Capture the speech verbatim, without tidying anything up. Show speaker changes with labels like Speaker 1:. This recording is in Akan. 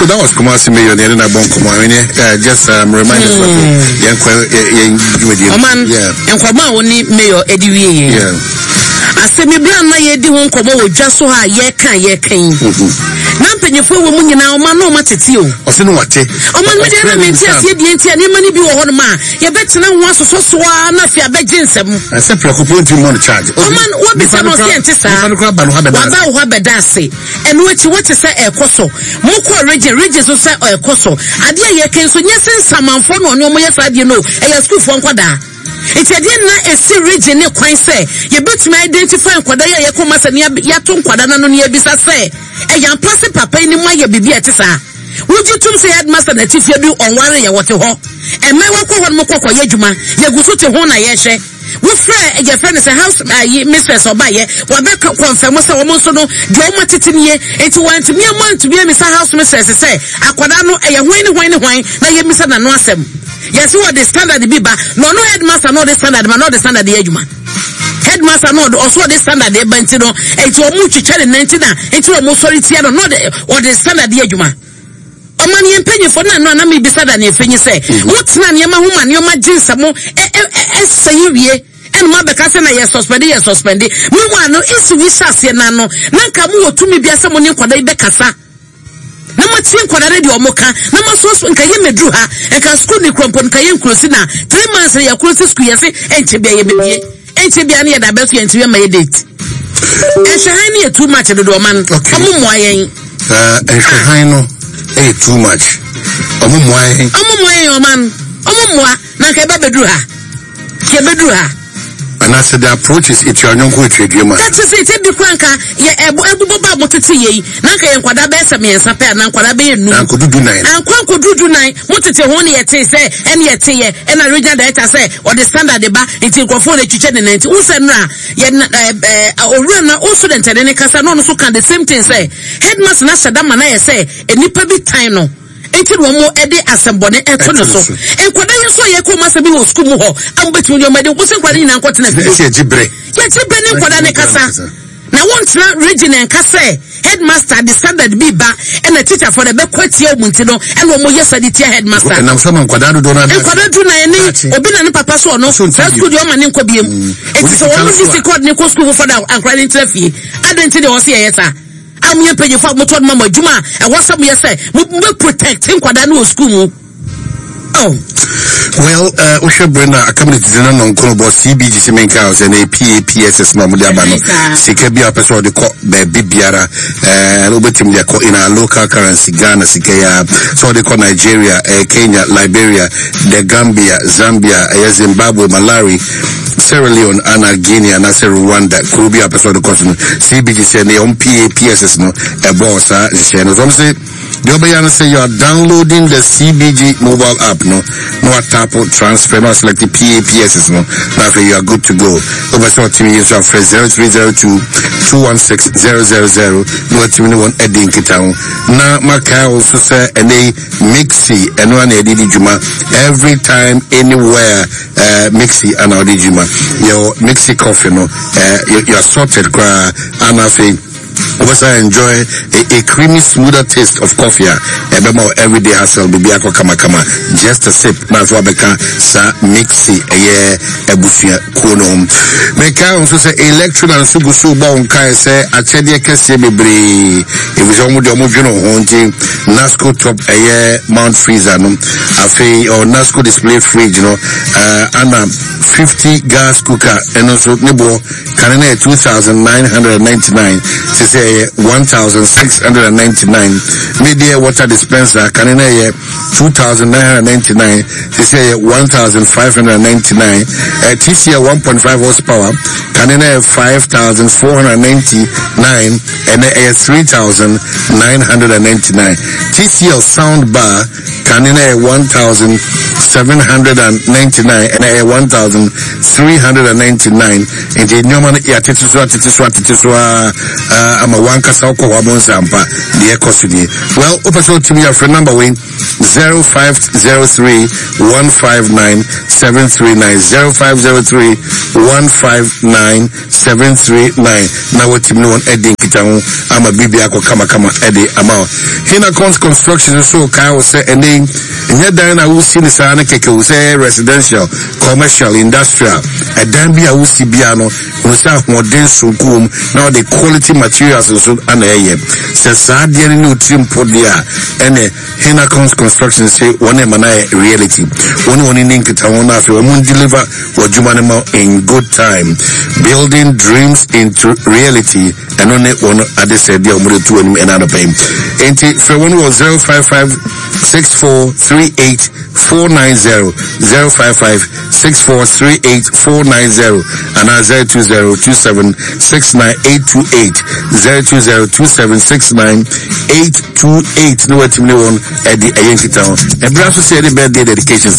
Speaker 1: So that was Kumasi Mayor ne na bɔ nkɔmmɔ. I mean, uh, just um, remind us mm. yɛn kɔ yɛn dwumadie.
Speaker 2: Ɔman nkɔmmɔ a wɔne mayor edi wie yɛ.
Speaker 1: Yeah.
Speaker 2: Asɛm bi a na yɛdi ho nkɔmmɔ wɔ dwa so ha a yɛka yɛka yi. Na mpanyinfoɔ wɔ mu nyinaa, ɔman na ɔma tete o.
Speaker 1: Ɔsɛ no wate.
Speaker 2: Ɔman mi deɛ na mi nti aseɛ deɛ nti a nneɛma no bi wɔ hɔnom a yɛbɛtena ho asosɔ so a na afei abɛgye nsɛm.
Speaker 1: Ɛsɛ prɛko po ntumi mmɔ no charge.
Speaker 2: Ɔman wɔbisa no, ɔsɛ ɛnte saa.
Speaker 1: Nipa no kora ba no ha bɛda.
Speaker 2: Waba wo hɔ abɛda ase. Ɛno akyi wɔte sɛ ɛkɔ so, mokɔ region region so sɛ ɛkɔ so. Adeɛ a yɛka nso nyɛ sɛ nsamanfoɔ na ɔne ɔmo yɛ saa adeɛ no o, ɛyɛ sukuufoɔ nkwadaa. Nti ɛdeɛ na esi region ne kwan sɛ yɛbɛtumi identify nkwadaa yi a yɛkɔ ma sɛ ne yɛato nkwadaa no ano ne yɛbisa sɛ ɛyɛ ampa sɛ papa yi ne mu ayɛ biribi a ɛte saa. Wogye tum sɛ headmaster na tifie bi ɔnware yɛ wɔte hɔ, ɛmɛ wakɔ hɔ no mo kɔkɔ yɛ adwuma, yɛgu so te ho na yɛhwɛ. Wofrɛ yɛfrɛ no sɛ house ayi mistress, ɔbayɛ wabɛ confirm sɛ wɔn nso no deɛ wɔn atete nie. Nti wɔntumi ama ntumi amisa house mistress sɛ akwadaa no ɛyɛ hwan ne hwan ne hwan na yɛmisa n'ano asɛm. Yɛsi wɔde standard bi ba na ɔno headmaster na ɔde standard ba na ɔde standard yɛ adwuma. Headmaster na ɔde ɔso ɔde standard ba, nti no nti wɔn twitwa ne nan, nti na nti wɔn sɔre tia no na ɔde ɔde standard yɛ adwuma. Ɔman yɛn mpanyinfoɔ no ano anam ibisa da ne efenyi sɛ wotena nneɛma ho ma nneɛma gye nsɛm ɛ ɛ ɛsɛ yi wie, ɛna mo abɛka sɛ na yɛ suspend, yɛ suspend. Meanwhile no, esi wi hyɛ aseɛ n'ano na nka mo wɔ tumi bi asɛ mo ne nkwadaa yi bɛkasa na mo tie nkwadaa no deɛ ɔmo ka na mo aso nka yɛ mɛduru ha, nka sukuu ne kurɔmpɔ nka yɛ nkurosi na three months yɛ kurosi sukuu. Yɛ se ɛnkyɛ bia yɛ bɛbie, ɛnkyɛ bia ne yɛ da abɛso yɛ ntumi ama yɛ date. Ɛhwɛ han ne yɛ too much dodo. Ɔman ɔmo mmoa yɛn.
Speaker 1: Ɛhwɛ han no ɛyɛ too much, ɔmo mmoa yɛn.
Speaker 2: Ɔmo mmoa yɛn, ɔman ɔmo mmoa na nka ɛbɛ bɛduru ha, nka ɛbɛduru ha.
Speaker 1: Anaasɛ the approach is etua ɔnyɔnko etua mu a.
Speaker 2: That is it. Ebi kura nka yɛ ɛbo ɛbobɔ ba a mo tete yɛ yi na nka yɛ nkwadaa bɛyɛ sɛ mmiɛnsa pɛ ana nkwadaa bɛyɛ num.
Speaker 1: Na nkodu du nan.
Speaker 2: Ankɔ nkodu du nan. Mo tete ho ne yɛ te sɛ ɛne yɛ te yɛ ɛna regional director sɛ ɔde standard ba, nti nkurɔfoɔ na etwitwa ne nan. Nti wosɛ nura yɛ na ɛɛ ɛɛ owura na o student ɛne ne kasa na ɔno nso ka the same thing sɛ headmaster na hyɛ da ma na yɛ sɛ nipa bi tan no, nti na wɔn de asɛmbɔne ɛto ne so. Nkwadaa yi nso a yɛkɔ wɔn asɛm bi wɔ sukuu mu hɔ a wɔbɛtumi de wɔn adi wɔn sɛ nkwadaa nyinaa nkɔ tena fie.
Speaker 1: Ɛsɛ yɛgye brɛ.
Speaker 2: Yɛgye brɛ ne nkwadaa ne kasa na wɔntena region nka sɛ headmaster de standard bi ba ɛna teacher fo de bɛkɔ atia wɔn, nti no ɛna wɔn yɛ sɛ de tia headmaster.
Speaker 1: Ɛnam sɛ ma nkwadaa dodoɔ no.
Speaker 2: Nkwadaa du nan ne obi na ne papa so ɔno saa sukuu deɛ ɔma ne nkɔ biem, eti sɛ wɔn de si kɔɔd ne kɔ sukuu foforɔ da akwadaa ne ntena fie adan. Nti deɛ wɔsi yɛyɛ saa a mo yɛ mpanyinfo a mo tɔ no ma mo adwuma a ɛwɔ sɛ mo yɛ sɛ mo bɛ protect nkwadaa no wɔ sukuu mu. Oh.
Speaker 1: Well, wohwɛ bere no a aka minute no nɔnkono bɔ. C B G sɛ menka wo sɛ na P A P S S na ɔmode aba no, sika bi a wopɛ sɛ ɔde kɔ baabi biara, wobɛtumi de akɔ in our local currency, Ghana sika yi a, sɛ ɔde kɔ Nigeria, eh, Kenya, Liberia, the Gambia, Zambia, ɛyɛ Zimbabwe, Malawi, Sierra Leone ana Guinea anaasɛ Rwanda, kuro bi a wopɛ sɛ ɔde kɔ so no, C B G sɛ ne ɔm P A P S S no ɛbɔɔ saa nhyehyɛeɛ no so. Ɔm sɛ deɛ ɔbɛyɛ no sɛ you are downloading the C B G mobile app no na watap transfer na waselect P A P S S no na afei you are good to go. Wopɛ sɛ ɔtumi yi nso afrɛ zero three zero two two one six zero zero zero na watumi ne wɔn adi nkita ho. Na makae wo nso sɛ ɛnɛ yi Mixi ɛno ana yɛde di dwuma every time, anywhere. uh, mixi ana wɔde dwuma. Yɛwɔ Mixi coffee no, uh, you, you are sorted koraa. Ana afei wobɛsa enjoy a, a creamy, smoother taste of coffee a ɛbɛma wo everyday hustle biribi akɔ kamakama. Just a sip na afei wabɛka saa Mixi ɛyɛ abusua kuo no ho. Meka wo nso sɛ Electrona nso gu so bɔ wo nkae sɛ akyɛdeɛ kɛseɛ bebree, ɛfiri sɛ ɔmo deɛ ɔmo dwene wo ho. Nti Nasco top ɛyɛ mount freezer no, afei ɔ Nasco display fridge no, uh, ana fifty gas cooker, ɛno nso ne boɔ kane no yɛ two thousand nine hundred ninety-nine, sɛ sɛ ɛyɛ one thousand six hundred ninety-nine. Media water dispenser kane no yɛ two thousand nine hundred ninety-nine, sɛ sɛ ɛyɛ one thousand five hundred ninety-nine. uh, T C L one point five horsepower kane no yɛ five thousand four hundred ninety-nine, ɛnɛ ɛyɛ three thousand nine hundred ninety-nine. T C L sound bar kane no yɛ one thousand seven hundred ninety-nine, ɛnɛ ɛyɛ one thousand three hundred ninety-nine. Nti nneɛma no yɛatete so, atete so, atete so a ama wankasa wokɔ hɔ abɔ nsampa deɛ ɛkɔ so nie. Well, wopɛ sɛ wotumi yɛafrɛ number wei zero five zero three one five nine seven three nine zero five zero three one five nine seven three nine na watumi ne wɔn adi nkitaho ama biribi akɔ kamakama ɛde ama wo. Hinacons Construction nso kae wo sɛ ɛnɛ yi nyɛ dan na wosi ne saa no kɛkɛ wo sɛ residential, commercial, industrial ɛdan bi a wosi bia no hunu sɛ ahoɔden sonko wɔ mu na wɔde quality materials nso ana ɛyɛ. Sɛ saa adeɛ no ne otiri mpo deɛ a, ɛne Hinacons Construction sɛ wɔn ɛma no ayɛ reality. Wɔn ne wɔn ni nkitaho no, afei wɔn deliver wɔ adwuma no ma in good time, building dreams into reality. Ɛno ne wɔn adesɛdeɛ a wɔde to anim ɛna anɔpɛ yi. Enti frɛ wɔn wɔ zero five five six four three eight four nine zero zero five five six four three eight four nine zero anaa zero two zero two seven six nine eight two eight zero two zero two seven six nine eight two eight ne watumi ne wɔn ɛde ɛyɛ nkitaho. Ɛberɛ nso sɛ yɛde birthday dedications